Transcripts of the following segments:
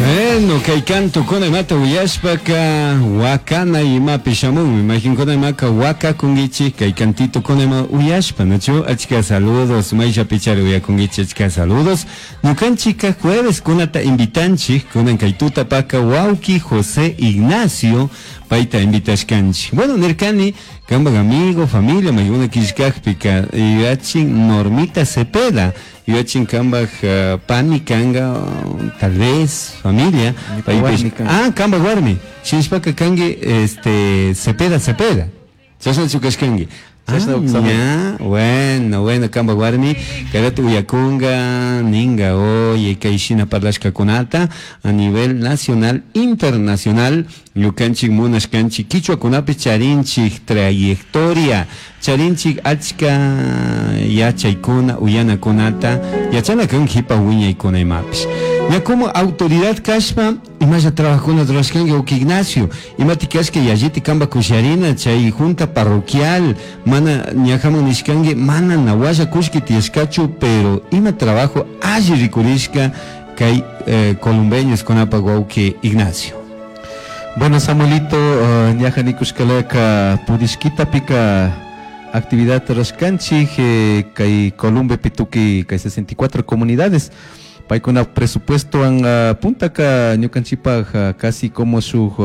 Bueno, kay cantukuna imata uyashpaka wakana imapi shamunmi. Mayqinkuna imaka wakakunkichik kay cantitokuna ima uyashpa, nachu? Achka saludos, mayllapichari uyakunkichik achka saludos. Ñukanchikka jueves kunata invitanchik, kunan kay tutapaka wawki José Ignacio payta invitashkanchik. Bueno, nirkani kampak amigo, familia maykuna killkakpika yuyachin Normita Cepeda, yuyachin kampak pani kanga, tal vez familia, paypish, ah, kampak warmi, shinashpaka kanki este Cepeda Cepeda. Chashnachu kashkanki? Ah, ña, bueno, bueno, kampak warmi, kayratu uyakunga, ninga, oye, kay shina parlashkakunata a nivel nacional, internacional, ñukanchik munashkanchik kichwakunapi charinchik trayectoria, charinchik achka yachaykuna, uyanakunata, yachana kan jipa wiñaykuna imapish. Ña como autoridad kashpa, imalla trabajokuna rurashkanki wawki Ignacio, imati kashka yalliti kamba kusharina chay junta parroquial, mana ñajaman nishkanki, mana nawalla kullki tiyashkachu, pero ima trabajo alli rikurishka kay columbeños kunapak wawki Ignacio. Bueno, Samuelito, ñaja nikushkalaka pudishkitapika actividad rashkanchik kay Columbepi tukuy kay 64 comunidades paykuna presupuestowan puntaka ñukanchikpak casi como shuk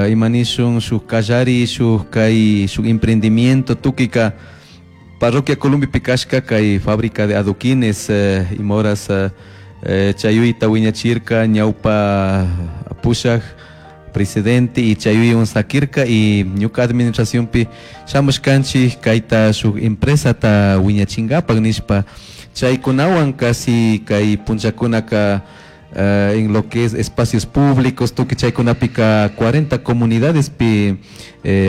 ima nishun shuk kallari shuk kay shuk emprendimiento tukuyka parroquia Columbepi kashka kay fábrica de adoquines ima horas chayuyta wiñachirka ñawpa pushak presidente y chayuywan sakirka y ñuka administracionpi shamushkanchik kayta shuk empresata wiñachinkapak nishpa chaykunawan casi kay punllakunaka en lo que es espacios públicos tukuy chaykunapika 40 comunidadespi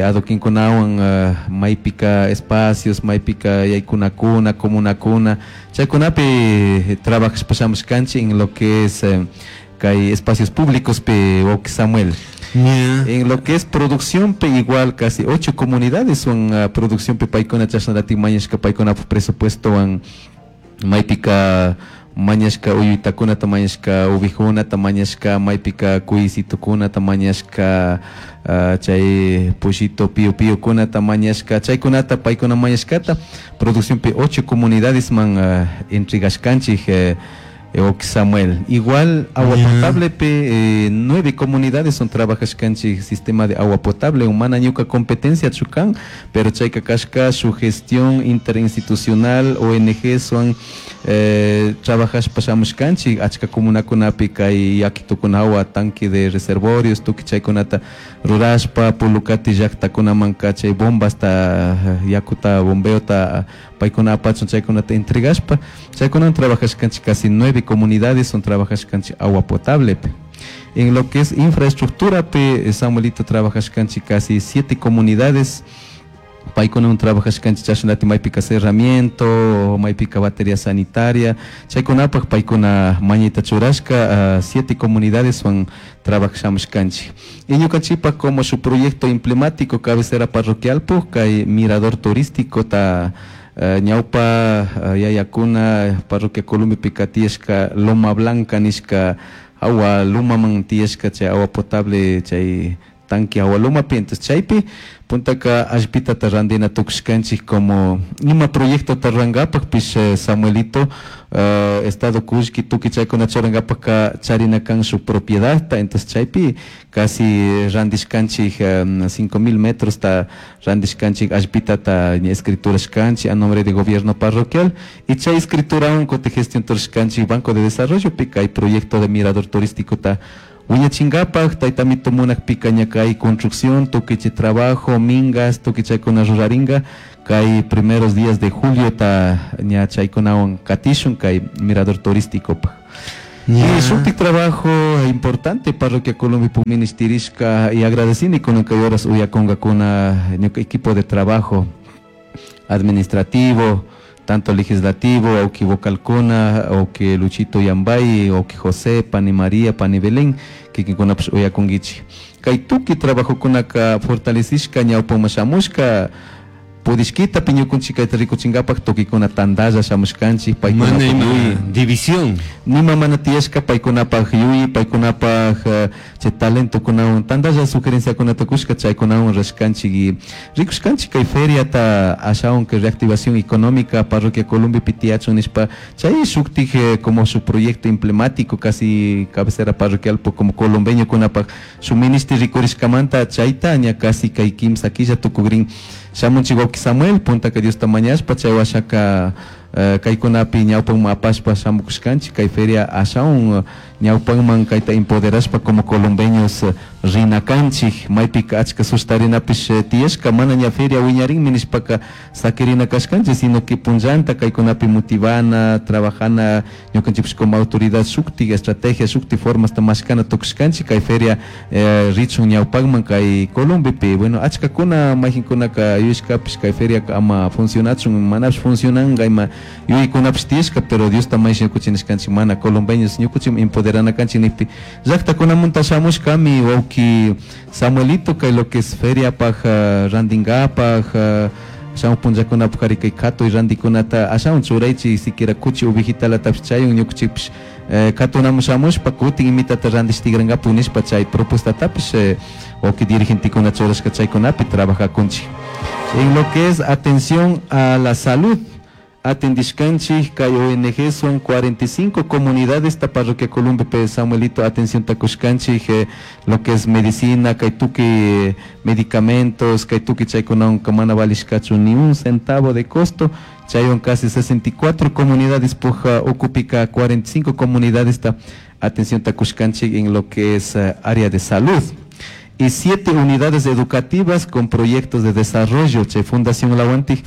adoquinkunawan maypika espacios maypika yaykunakuna comunakuna chaykunapi trabajashpa shamushkanchik en lo que es kay espacios públicos pi wawki Samuel. En lo que es producción pi igual casi 8 comunidades son producción pi paykuna chashnalatik mañashka paykunapak presupuestowan maypika mañashka uyuytakunata mañashka ovejunata mañashka maypika cuycitokunata mañashka chay pollito pío píokunata mañashka chaykunata paykuna mañashkata producción pi 8 comunidades man entregashkanchik wawki Samuel. Igual agua potable pi 9 comunidades son trabajashkanchik sistema de agua potable mana ñuka competencia chukan pero chayka kashka su gestión interinstitucional ONG son trabajashpa shamushkanchik achka comunakunapi kay yakitukunawa tanque de reservorios tukuy chaykunata rurashpa Pulukati llaktakunamanka chay bombasta yakuta bombeota paykuna apachun chaykunata entregashpa chaykunawan trabajashkanchik casi 9 comunidades son trabajashkanchik agua potable pi. En lo que es infraestructura pi Samuelito trabajashkanchik casi 7 comunidades paykunawan trabajashkanchik chashnati maypika cerramiento maypika batería sanitaria chaykunapak paykuna mañayta churashka 7 comunidades wan trabajashamushkanchik y ñukanchikpak como su proyecto emblemático cabecera parroquial puk kay mirador turístico ta ñawpa yayakuna parroquia Columbepika tiyashka Loma Blanca nishka agua lumaman tiyashka chay agua potable chay tanque agua lumapi entonces chaypi puntaka allpitata randina tukushkanchik como ima proyectota rurankapakpish Samuelito estado kullki tukuy chaykuna churankapakka charina kan shuk propiedadta entonces chaypi casi randishkanchik 5000 metrosta randishkanchik allpitata ña escriturashkanchik a nombre de gobierno parroquial y chay escriturawan kutin gestión turashkanchik Banco de Desarrollo pi kay proyecto de mirador turístico ta wiñachinkapak taytamito munakpika ña kay construcción tukuy chay trabajo mingas tukuy chaykuna rurarinka kay primeros días de julio ta ña chaykunawan katishun kay mirador turísticopak. Y shuktik trabajo importante parroquia Columbe ministerishka y agradecini kunan kay horas uyakunkakuna ñuka equipo de trabajo administrativo tanto legislativo, auki vocalkuna, auki Luchito Yambay, auki José, Pani María, Pani Belén, kikinkunapish uyakunkichik. Kay tukuy trabajokunaka fortalecishka ñawpaman shamushka. Pudishquitapi ñukunchik kayta rikuchinkapaq tukikuna tantalla shamushkanchik Mana ima división. Nima mana tiyashka paykunapaq yuyi, paykunapaq chay talentokunawan tantalla sugerenciakunata kushka chaykunawan rashkanchik y rikushkanchik kay feriata ashawan kay reactivación económica parroquia Columbepi tiyachun nishpa chay shuktik como su proyecto emblemático casi cabecera parroquial como colombeñokunapaq su ministri rikurishkamanta chayta ña casi kay kimsa killa tukukrin shamunchik wawki Samuel puntaka Diosta mañashpa chay washaka kaykunapi ñawpanman apashpa shamukushkanchik kay feria ashawan ñawpanman kayta empoderashpa como colombeños rina kanchik maypika achka sustarinapish tiyashka mana ña feria wiñarinmi nishpaka sakirina kashkanchik sino que punllanta kaykunapi motivana trabajana ñukanchikpish como autoridad shuktik estrategia shuktik formasta mashkana tukushkanchik kay feria richun ñawpakman kay Colombepi. Bueno, achkakuna mayjinkunaka yuyashkapish kay feriaka ama funcionachun manapish funcionanka ima yuyaykunapish tiyashka, pero Diosta maysh ñukuchik nishkanchik mana colombeños ñukuchik empoderana kanchik nijpi llaktakunamanta shamushkami wawki Samuelito kay lo que es feriapaj randinkapaj shamuj punllakunapaj ari kay katuy randikunata ashawan churaychik siquiera kuchi ovejitalatapish chayun ñukuchikpish katunamun shamushpa kutin imitata randish tigrankapak nishpa chay propuestatapish wawki dirigentekuna churashka chaykunapi trabajakunchik. En lo que es atención a la salud, atendishkanchik kay ONG son 45 comunidades esta parroquia Columbepe Samuelito atención takushkanchik lo que es medicina kay tukuy medicamentos kay tukuy chaykunawan mana valishkachu ni un centavo de costo chaywan casi 64 comunidades puja ukupika 45 comunidades esta atención takushkanchik en lo que es área de salud y 7 unidades educativas con proyectos de desarrollo chay Fundación Lawantik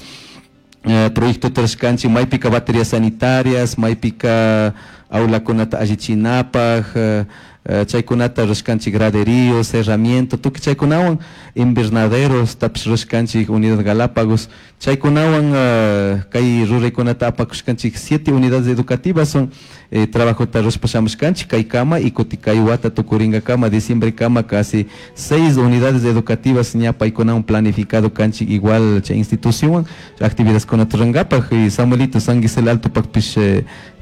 proyecto trashkanchik maypika baterías sanitarias maypika aulakunata allichinapaj chaykunata rashkanchik graderíos cerramiento tukuy chaykunawan invernaderos tapish rashkanchik unidad Galápagos chaykunawan kay ruraykunata apakushkanchik 7 unidades educativas son trabajota rashpa shamushkanchik kay kama y kuti kay wata tukurinka diciembre kama casi 6 unidades educativas ña paykunawan planificado kanchik igual chay institución actividades kunata rurankapaj y Samuelito San Gisel Altopakpish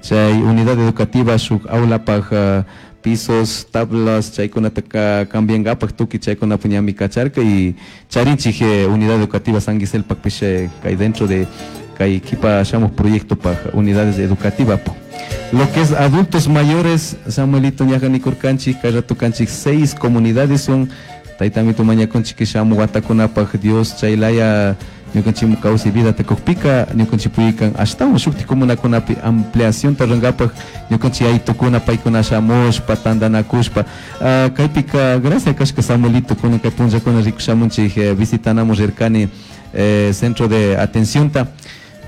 chay unidad educativa shuk aulapaj pisos, tablas, chaykunata cambiankapaj tukuy chaykunapi ñami kacharka y charinchik unidad educativa San Gisel pakpish kay dentro de kay kipa shamuj proyecto paj unidades educativas. Lo que es adultos mayores, Samuelito ñaja nikurkanchik, kay rato kanchik 6 comunidades son taytamito mañakunchik shamuj watakunapaj Dios chaylaya ñukanchik kawsay vida takukpika ñukanchik puykan ashtawan shuktik comunakunapi ampliación tarrankapaj ñukanchik yaytukuna paykuna shamushpa tantanakushpa kaypika gracias kashka Samuelito kunan kay punllakuna rikushamunchik visitanamun rirkani centro de atencionta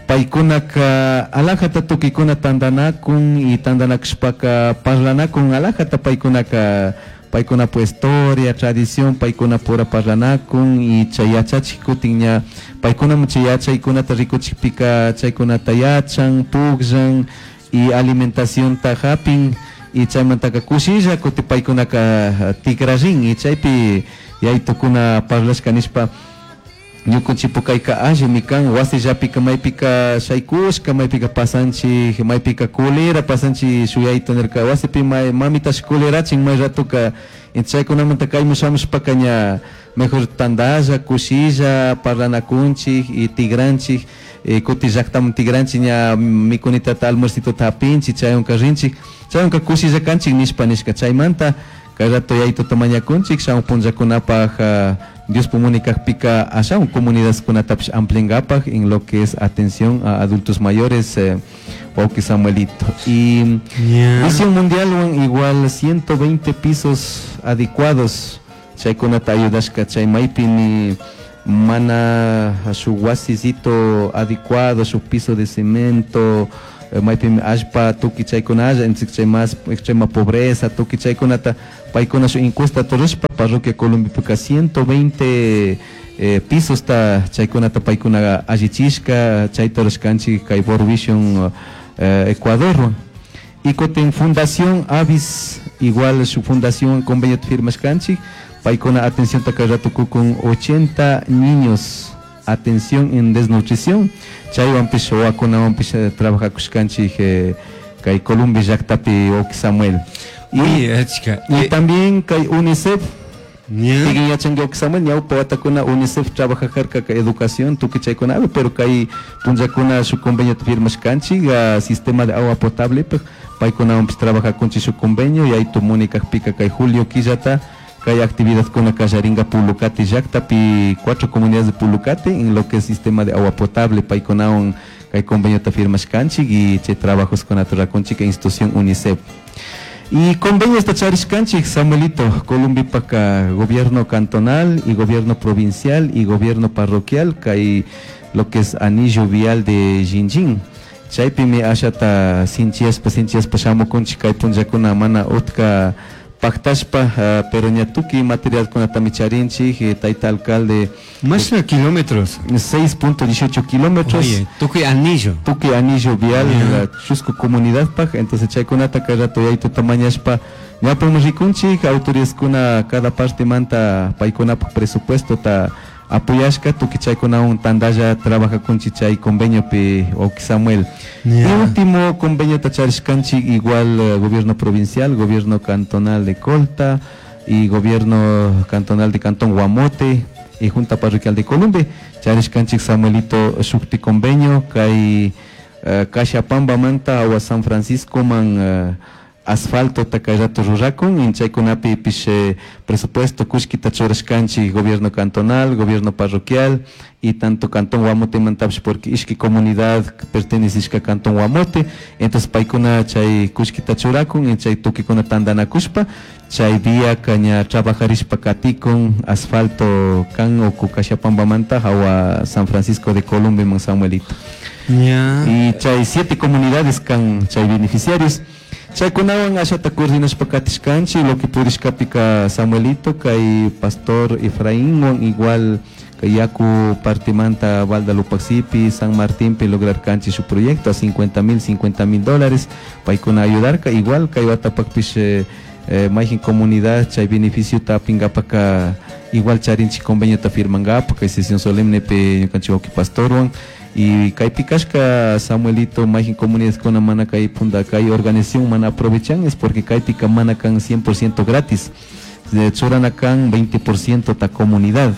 paykunaka alajata tukuykuna tantanakun y tantanakushpaka parlanakun alajata paykunaka paykunapa historia, tradición, paykunapura parlanakun y chay yachachik kutin ña paykunaman chay yachaykunata rikuchikpika chaykunata yachan, pukllan y alimentacionta hapin y chaymantaka kushilla kutin paykunaka tikrarin y chaypi yaytukuna parlashka nishpa ñukanchikpu kayka allimi kan wasillapika maypika shaykushka maypika pasanchik maypika culera pasanchik shuyayta nirka wasipi mamitash culerachin may ratoka chaykunamanta kayman shamushpaka ña mejor tantalla kushilla parlanakunchik y tigranchik kutin llaktaman tigranchik ña mikunitata almuercitota hapinchik chaywanka rinchik chaywanka kushilla kanchik nishpa nishka chaymanta kay rato yaytuta mañakunchik shamuj punllakunapaj Dios pumunikakpika ashawan comunidadkunatapish ampliankapaj en lo que es atención a adultos mayores wawki Samuelito. Y Visión Mundial igual 120 pisos adecuados chaykunata ayudashka chay maypi ni mana shuk wasisito adecuado shuk piso de cemento maypimi allpa tukuy chaykunalla entonces chay más extrema pobreza tukuy chaykunata paykuna shuk encuesta rurashpa parroquia Colombepika 120 pisosta chaykunata paykuna allichishka chayta rurashkanchik kay World Vision Ecuador. Y kutin Fundación Avis igual su fundación convenio firmashkanchik paykuna atención kay rato kukun 80 niños Atención en Desnutrición. Chaywanpish wawakunawanpish trabajakushkanchik kay Columbia llaktapi, wawki Samuel. Y también kay UNICEF. Kikin yachanki, wawki Samuel, ñawpa watakuna UNICEF trabajajarka kay educación tukuy chaykunapi, pero kay punllakuna shuk conveniota firmashkanchik sistema de agua potable paykunawanpish trabajakunchik shuk convenio yaytu munikakpika kay julio killata kay actividadkuna kallarinka Pulucate llaktapi, cuatro comunidades de Pulucate, en lo que es sistema de agua potable paykunawan kay conveniota firmashkanchik y chay trabajoskunata rurakunchik institución UNICEF. Y convenio charishkanchik, Samuelito, Columbipaka gobierno cantonal y gobierno provincial y gobierno parroquial kay lo que es anillo vial de Jinjin. Chaypimi ashata sinchiyashpa sinchiyashpa shamukunchik kay punllakuna mana utka paktashpa, pero ña tukuy materialkunatami charinchik, tayta alcalde. ¿Más kilómetros? 6.18 kilómetros. Oye, tukuy anillo. Tukuy anillo vial, la chusku comunidad paj, entonces chaykunata kay rato yaytuta mañashpa ñawpakman rikunchik, autoridadkuna cada parte manta paykunapak presupuesto ta apoyashka tukuy chaykunawan tantalla trabajakunchik chay conveniopi, wawki Samuel. Y último convenio charishkanchik igual gobierno provincial, gobierno cantonal de Colta y gobierno cantonal de Cantón Guamote y Junta Parroquial de Columbe. Charishkanchik, Samuelito, shukti convenio kay Cashapamba manta awa San Francisco man asfalto kay rato rurakun y chaykunapi pish presupuesto kullkita churashkanchik gobierno cantonal, gobierno parroquial y tanto Cantón Guamote mantapish porque ishki comunidad pertenecishka Cantón Guamote, entonces paykuna chay kullkita churakun y chay tukuykuna tantanakushpa chay vía ña trabajarishpa katikun asfalto kan uku Cashapambamanta hawa San Francisco de Columbe man, Samuelito. Y chay siete comunidades kan chay beneficiarios. Chaykunawan ashata coordinashpa katishkanchik lo que purishkapika, Samuelito, kay pastor Efraínwan igual kay yaku partimanta Balda Lupaxipi, San Martín pi lograrkanchik su proyecto a 50 mil, 50 mil dólares paykuna ayudarka. Igual kay watapakpish mayjin comunidad chay beneficiota apinkapaka igual charinchik conveniota firmankapa kay sesión solemne ñukanchik wawki pastorwan. Y kaypi kashka, Samuelito, mayjin comunidadkuna mana kay punda kay organización mana aprovechan es porque kaypika mana kan 100% gratis, churana kan 20% ta comunidad,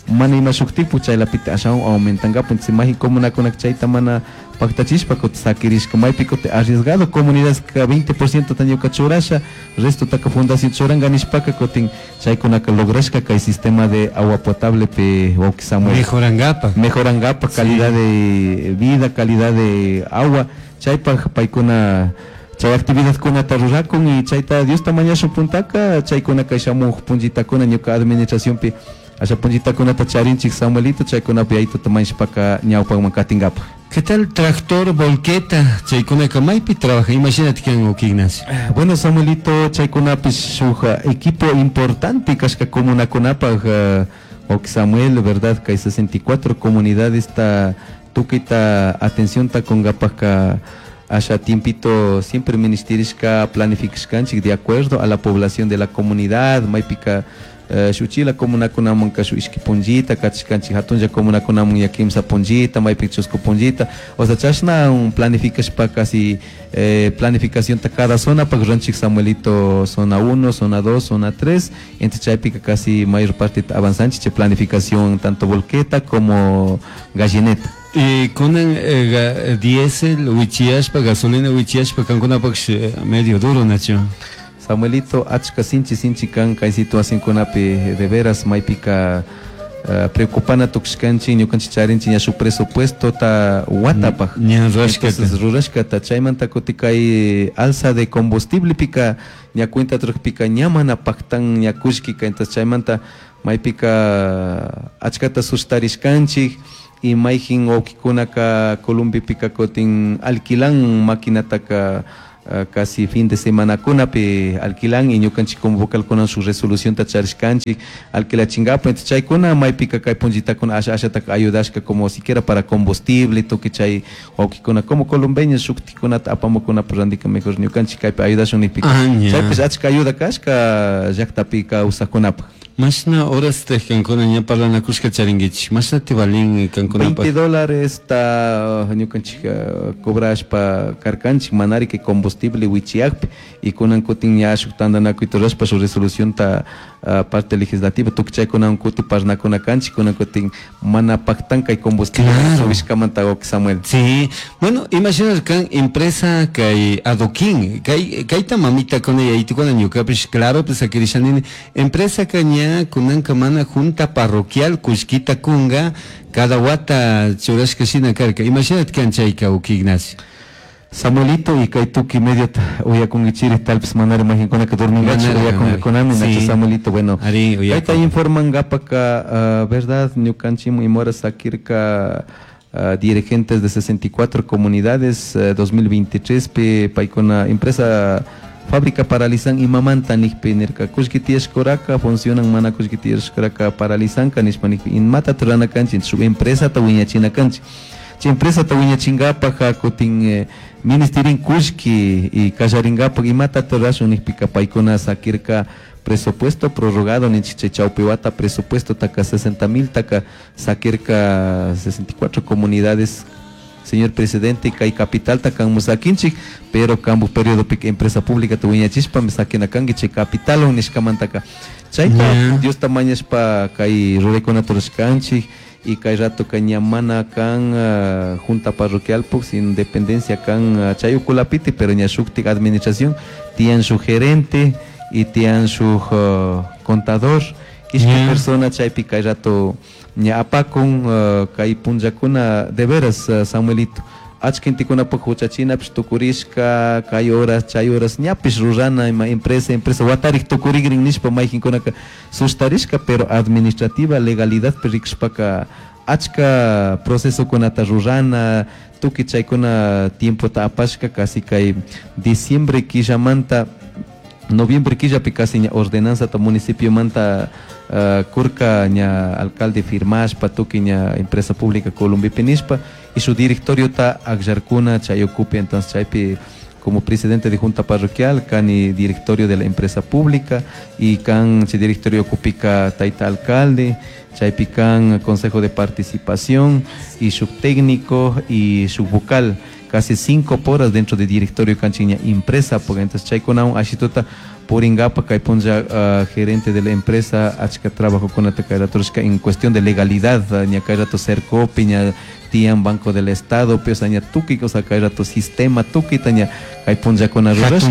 mana ima shuk tipo chaylapita ashawan aumentankapa. Entonces mayjin comunakuna chayta mana paktachishpa kutin sakirishka, maypi kutin arriesgado comunidad ka 20% ta ñuka churasha, resto taka fundación churanka nishpaka kutin chaykunaka lograshka kay sistema de agua potable pe, wawki Samuel. Mejorankapa. Mejorankapa calidad de vida, calidad de agua, chaypak paykuna chay actividadkunata rurakun y chayta Diosta mañashun puntaka chaykuna kay shamuk punllitakuna ñuka administracionpi asha punllitakunata charinchik, Samuelito, chaykunapi yaytuta mañashpaka ñawpakman katinkapa. ¿Qué tal tractor, volqueta? Chaykunaka maypi trabaja, imagínate kan wawki Ignacio. Bueno, Samuelito, chaykunapish shuk equipo importante kashka comunakunapaj, wawki Samuel, verdad, kay 64 comunidades ta tukuyta atención ta kunkapaka asha tiempito siempre ministerishka planificashkanchik de acuerdo a la población de la comunidad, maypika shuchila comunakunamanka shu ishki punllita kachishkanchik, hatunlla comunakunaman ya kimsa punllita, maypika chusku punllita, o sea chashna un planificashpa casi planificación ta cada zona pa ruranchik, Samuelito, zona 1, zona 2, zona 3, entonces chaypika casi mayor parte avanzanchik chay planificación tanto volqueta como gallineta. Y kunan diésel wichiyashpa, gasolina wichiyashpa kankunapaq medio duro, nachu? Samuelito, achka sinchi sinchi kan kay situacionkunapi, de veras maypika preocupana tukushkanchik, ñukanchik charinchik ña shuk presupuesto ta watapaj. Ña rurashkata. Entonces rurashkata chaymanta kutin kay alza de combustible pika ña cuenta rukpika ña mana paktan ña kullkika, entonces chaymanta maypika achkata sustarishkanchik y mayjin wawkikunaka Columbipika kutin alquilan maquinataka casi fin de semana kunapi alquilan y ñukanchik como vocalkuna su resolución ta charishkanchik alquilachingapa. Entonces chaykuna maypika kay punllitakuna asha ashataka ayudashka como siquiera para combustible tukuy chay wawkikuna como columbeños shuktikunata apamukunapa randika mejor ñukanchik kaypi ayudashun nipika chaypish achka ayuda kashka llaktapi kawsakkunapaj. Mashna horas te kankuna ña parlanakushka charinkichik? Mashna te valin kankunapaq? $20 ta ñukanchik cobrashpa karkanchik, manari que combustible wichiyakpi, y kunan kutin ña shuk tantanakuyta rurashpa shuk resolución ta parte legislativa tukuy chaykunawan kuti parnakuna kanchik, kunan kutin mana paktan kay combustible subishkamanta, wawki Samuel. Sí, bueno, imagina kan empresa kay adoquín, kay kayta mamita kuna yaytukuna ñukapish claro pues akirishanini empresa ka ña kunanka mana junta parroquial kullkita kunga cada wata churashka shina karka. Imagínate kan chayka, wawki Ignacio. Samuelito, y kay tukuy mediota uyakunkichiri, tal vez manari mayqinkunaka dormingachu uyakunkakunami, nachu Samuelito? Bueno, kayta informankapaka, verdad, ñukanchikman imora sakirka dirigentes de 64 comunidades 2023 pi paykuna empresa fábrica paralizan imamanta nikpi nirka kullki tiyashkuraka funcionan, mana kullki tiyashkuraka paralizanka nishpa nikpi, imata rurana kanchik? Shuk empresata wiñachina kanchik. Chay empresata wiñachinkapak kutin ministerin kullki y kallarinkapak imata rurashun nikpika, paykuna sakirka presupuesto prorrogado ninchik, chay chawpi wata presupuesto taka 60 mil taka sakirka 64 comunidades. Señor presidente, kay capitalta kanmu sakinchik, pero kambu periodo empresa pública ta wiñachishpa sakina kanki chay capital nishkamantaka. Chayta Diosta mañashpa kay ruraykunata rurashkanchik, y kay rato ka ña mana kan junta parroquial puk sin dependencia kan chay ukulapiti, pero ña shuktik administración tiyan su gerente y tiyan su contador, ishkay persona chaypi kay rato ña apakun kay punllakuna. De veras, Samuelito, achka gentekunapak huchachinapish tukurishka, kay horas chay horas ñapish rurana ima empresa watarik tukurikrin nishpa mayqinkunaka sustarishka, pero administrativa legalidadpi rikushpaka achka procesokunata rurana, tukuy chaykuna tiempota apashka. Casi kay diciembre killamanta, noviembre killapi casi ña ordenanzata municipiomanta kurka, ña alcalde firmashpa, tukuy ña empresa pública Columbipi nishpa, y su directoriota akllarkuna chay ukupi. Entonces chaypi como presidente de junta parroquial kani directorio de la empresa pública, y kan chay directorio ukupika tayta alcalde, chaypi kan consejo de participación y subtécnico y subvocal, casi 5 horas dentro de directorio kanchik ña empresa, porque entonces chaykunawan ashituta puringapa kay punlla gerente de la empresa achka trabajo kunata kay rato rurashka en cuestión de legalidad, ña kay rato Sercopi ña tiyan, Banco del Estado, pues ña tukuy, o sea, kay rato sistema tukuyta ña kay punllakuna rurashka.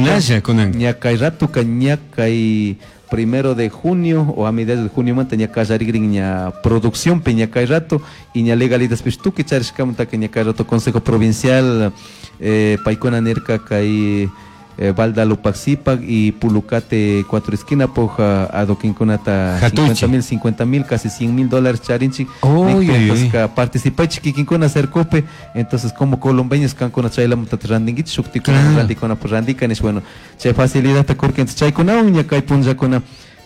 Ña kay ratoka ña kay 1 de junio o a mediados de junio manta ña kallarikrin ña producción pe ña kay rato, y ña legalidad pish tukuy charishkamanta ña kay rato consejo provincial paykuna nirka kay Balda Lupaxipac y Pulucate Cuatro Esquina poj adoquinkunata 50 mil, 50 mil, casi 100 mil dólares charinchik. Entonces participaychik kikinkuna Sercope, entonces como colombeños kankuna chaylamunta randinkichik, shuktikuna randikuna pues randika nish. Bueno, chay facilidad kurka. Entonces chaykunawan ña kay punllakuna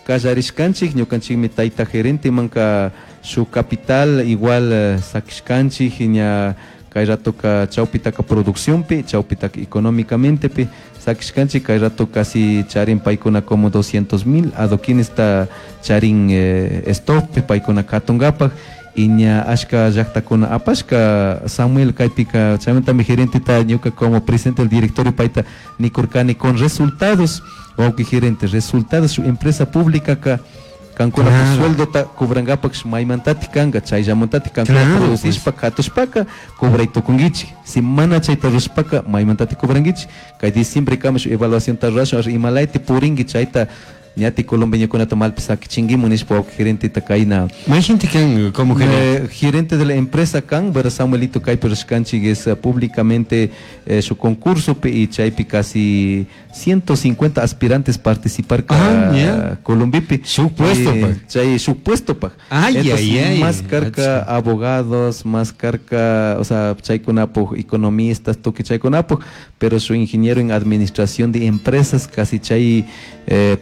kallarishkanchik. Ñukanchikmi tayta gerente manka su capital igual sakishkanchik, ña kay ratoka chawpitaka producciónpi, chawpitaka económicamente pi sakishkanchik. Kay rato casi charin paykuna como 200 mil adoquines ta charin stop paykuna katunkapak, y ña ashka llaktakuna apashka, Samuel. Kaypika chaymantami gerenteta ñuka como presidente del directorio payta nikurkani con resultados: wawqi gerente, resultados, su empresa pública ka kankuna sueldota cobrankapak maymantatik kanka? Chayllamantatik kankuna producishpa katushpaka cobray tukunkichik. Si mana chayta rurashpaka, maymantatik cobrankichik? Kay diciembre kama shuk evaluacionta rurashun, imalayti purinki, chayta ñati colombeñokunata malpi sakichinkimun nishpa wawqi gerenteta kayna. Mayqinti kan como gerente? Gerente de la empresa kan, pero Samuelito, kaypi rurashkanchik es públicamente su concurso y chaypi casi 150 aspirantes participar Columbipi. Shuk puesto. Chay shuk puesto pa. Ay, ay, ay. Más karka abogados, más karka, o sea, chaykunapuk economistas, tukuy chaykunapuk, pero su ingeniero en administración de empresas casi chay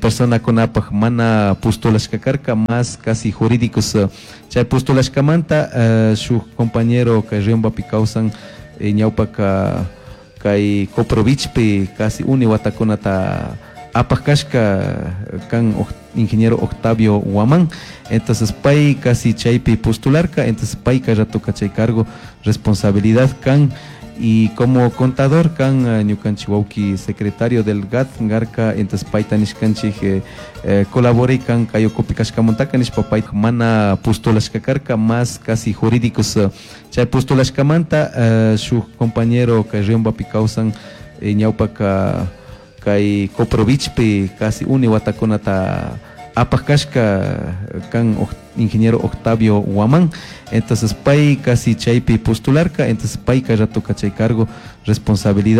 persona kunapak mana postulashka karka, más casi jurídicos chay postulashkamanta shuk compañero kay Riombapi kawsan, ñawpaka kay Coprovichpi casi uni watakunata Apaj kashka kan ingeniero Octavio Guamán. Entonces pay casi chaypi postularka, entonces pay ratoka chay cargo responsabilidad kan y como contador kan ñukanchik wawki secretario del GAD garka. Entonces payta nishkanchik colaboré kan kay ukupi kashkamantaka nishpa, pay mana postulashka karka, más casi jurídicos chay postulashkamanta. Shuk compañero kay Riombapi kawsan, ñawpaka kay Coprovichpi casi uni watakunata apaj kashka kan ingeniero Octavio Guamán. Entonces pay casi chaypi postularka, entonces pay ratoka chay cargo responsabilidad.